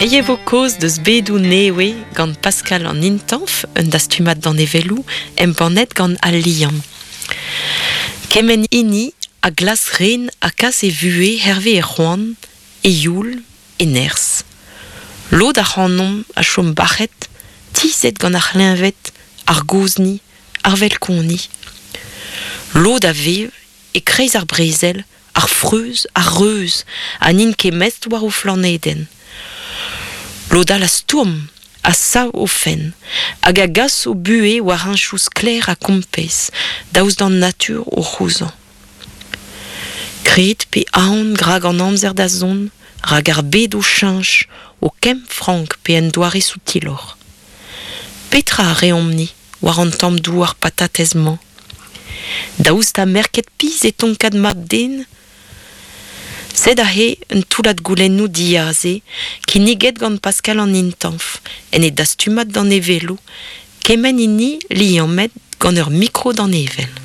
E vo kaoz deus bedoù nevez gant Pascal an Intañv, un dastumad danevelloù embannet gant Al Liamm. Kement hini a glask ren ha kas e vuhez hervez e c'hoant, e youl, e nerzh. Lod ac'hanomp a chom bac'het, tizhet gant ar c'hleñved, ar gozhni, ar velkoni. Lod a vev e-kreiz ar brezel, ar freuz, ar reuz, ha n'int ket mestr war o flanedenn. Lod all a stourm, a sav o fenn, hag a gas o buhez war heñchoù sklaer ha kompez, daoust d'an natur o c'houzañ. Kred pe aon rak an amzer da zont, rak ar bed o cheñch, o kemm frank pe en doare soutiloc'h. Petra a reomp-ni war an tamm douar patatez-mañ? Daoust ha merket pizh e tonkad mab-den? Sed aze un toullad goulennoù diaze kinniget gant Pascal an Intañv en e dastumad danevelloù, kement hini liammet gant ur mikro-danevell.